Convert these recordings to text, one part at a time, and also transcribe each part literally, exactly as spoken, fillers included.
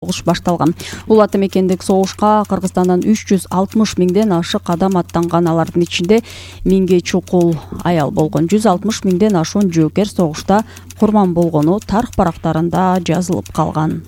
Согуш башталган. Бул ата мекендик согушка Кыргызстандан үч жүз алтымыш миңден ашык адам аттанган, алардын ичинде миңге чукул аял болгон. жүз алтымыш миңден ашуун жоокер согушта курман болгону тарых барактарында жазылып калган.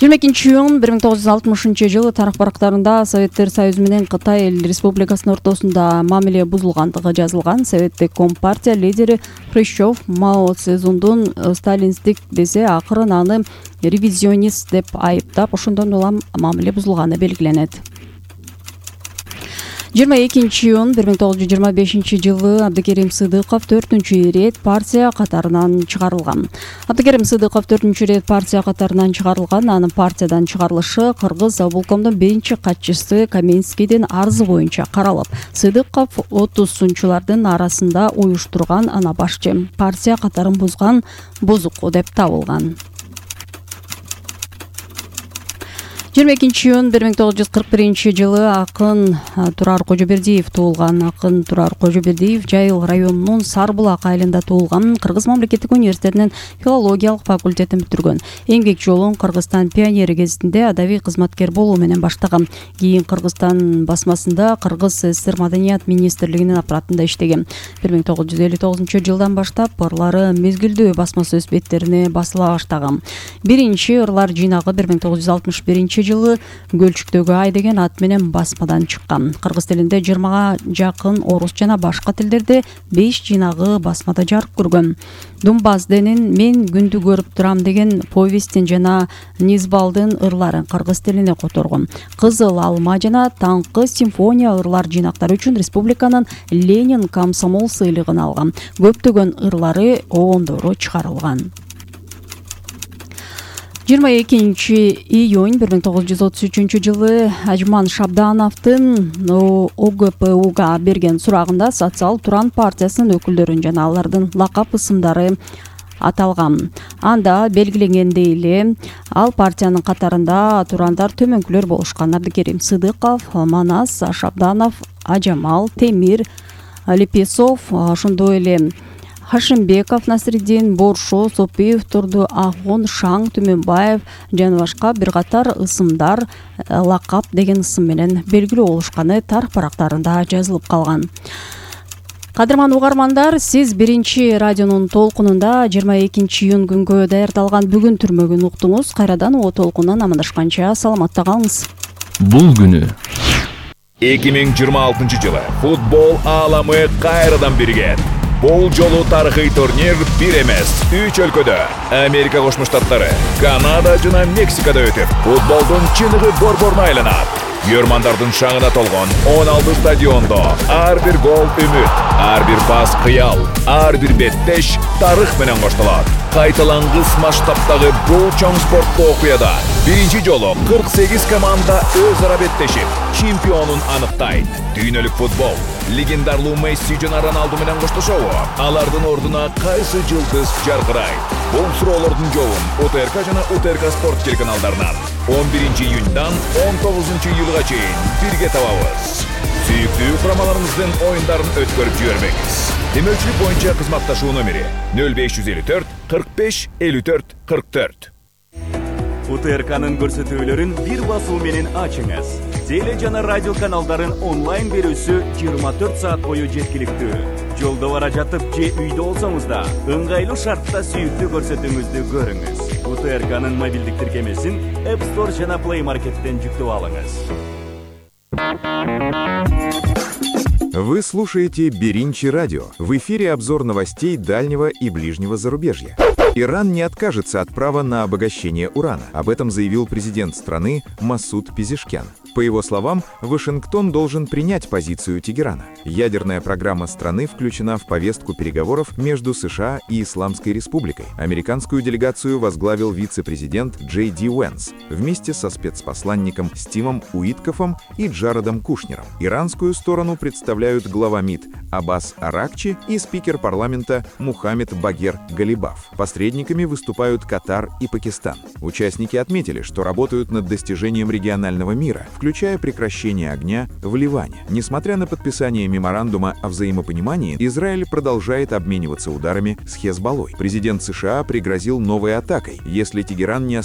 жыйырма экинчи июнь бир миң тогуз жүз алтымышынчы жылы тарых барактарында Советтер Союзу менен Кытай Эл Республикасынын ортосунда мамиле бузулгандыгы жазылган. Советтик Компартия лидери Хрущев Мао Цзедундун сталинисттик десе, акырын аны ревизионист деп айыптап, ошондон улам мамиле бузулганы белгиленет. жыйырма экинчи июнь бир миң тогуз жүз жыйырма бешинчи жылы Абдыкерим Сыдыков төртүнчү ирет партия катарынан чыгарылган. Абдыкерим Сыдыков төртүнчү ирет партия катарынан чыгарылган. Анын партиядан чыгарылышы Кыргыз облкомдун биринчи катчысы Каменскийдин арызы боюнча каралып, Сыдыков отузунчулардын арасында уюштурган ана башчы партия катарын бузган бузуку деп табылган. жыйырма экинчи июнь бир миң тогуз жүз кырк биринчи жылы акын Турар Кожобердиев туулган. Акын Турар Кожобердиев Жайыл районунун Сарбулак айылында туулган. Кыргыз мамлекеттик университетинин филологиялык факультетин бүтүргөн. Эмгек жолун Кыргызстан пионери гезитинде адабий кызматкер болуу менен баштаган. Кийин Кыргызстан басмасында Кыргыз СССР Маданият министрлигинин аппаратында иштеген. бир миң тогуз жүз элүү тогузунчу жылдан баштап ырлары мезгилдүү басма сөз беттерине басыла баштаган. Биринчи ырлар жыйнагы бир миң тогуз жүз алтымыш биринчи жылы Гөлчүктөгү ай деген ат менен басмадан чыккан. Кыргыз тилинде жыйырмага жакын, орус жана башка тилдерде беш жыйнагы басмада жарык көргөн. Думбазденин Мен күндү көрүп турам деген повестин жана Низбалдын ырларын кыргыз тилине которгон. Кызыл алма жана Таңкы симфония ырлар жыйнактары үчүн республиканын Ленин комсомол сыйлыгын алган. Көптөгөн ырлары обондору чыгарылган. жыйырма экинчи июнь бир миң тогуз жүз отуз үчүнчү жылы Ажман Шабдановдун О Г П Уга берген сурагында Социал Туран партиясынын өкүлдөрүн жана алардын лакап ысымдары аталган. Анда белгиленгендей эле ал партиянын катарында турандар төмөнкүлөр болушкан. Абдыкерим Сыдыков, Манас, Шабданов, Ажамал, Темир, Лепесов, ошондой эле Хашимбеков, Насриддин, Боршо, Сопиев, Турду, Ахун, Шаң, Түмөнбаев жана башка бир катар ысымдар лакап деген ысым менен белгилүү болушканы тарых барактарында жазылып калган. Кадырман угармандар, сиз биринчи радионун толкунунда жыйырма экинчи июнь күнгө даярдалган бүгүн түрмөгүн уктуңуз. Кайрадан о толкундан амандашканча саламатта калыңыз. Бул күнү эки миң жыйырма алтынчы жылы футбол ааламы кайрадан бирген. Бул жолу тарыхый турнир бир эмес, үч өлкөдө Америка Кошмо Штаттары, Канада жана Мексикада өтүп, футболдун чыныгы борборуна айланат. Көрмандардын шаңына толгон он алты стадиондо ар бир гол үмүт, ар бир пас кыял, ар бир беттеш тарых менен коштолот. Кайталангыс масштабтагы бул чоң спорттуу окуяда биринчи жолу кырк сегиз команда өз ара беттешип, чемпионун аныктайт. Дүйнөлүк футбол легендарлуу Месси жана Роналду менен коштошобу? Алардын ордуна кайсы жылдыз жаркырайт? Бул суроолордун жообун О Т Р К жана О Т Р К спорт телеканалдарынан он биринчи июньдан он тогузунчу июлга чейин бирге табабыз. Сүйүктүү курамаларыбыздын оюндарын өткөрүп жибербеңиз. Демөөлчүлүк боюнча кызматташуу номери нөл беш жүз элүү төрт кырк беш элүү төрт кырк төрт. О Т Р К'нын көрсөтүүлөрүн бир басуу менен ачыңыз. Теле жана радио каналдарын онлайн берүүсү жыйырма төрт саат бою жеткиликтүү. Жолдо бара жатып же үйдө болсоңуз да ыңгайлуу шартта сүйүктүү көрсөтүүңүздү көрүңүз. О Т Р К'нын мобилдик тиркемесин App Store жана Play Market'тен жүктөп алыңыз. Вы слушаете Беринчи радио. В эфире обзор новостей дальнего и ближнего зарубежья. Иран не откажется от права на обогащение урана. Об этом заявил президент страны Масуд Пезешкян. По его словам, Вашингтон должен принять позицию Тегерана. Ядерная программа страны включена в повестку переговоров между США и Исламской Республикой. Американскую делегацию возглавил вице-президент Джей Ди Уэнс вместе со спецпосланником Стивом Уиткофом и Джаредом Кушнером. Иранскую сторону представляют глава МИД Аббас Аракчи и спикер парламента Мухаммед Багер Галибаф. Посредниками выступают Катар и Пакистан. Участники отметили, что работают над достижением регионального мира, включая включая прекращение огня в Ливане. Несмотря на подписание меморандума о взаимопонимании, Израиль продолжает обмениваться ударами с Хезболлой. Президент США пригрозил новой атакой, если Тегеран не остановится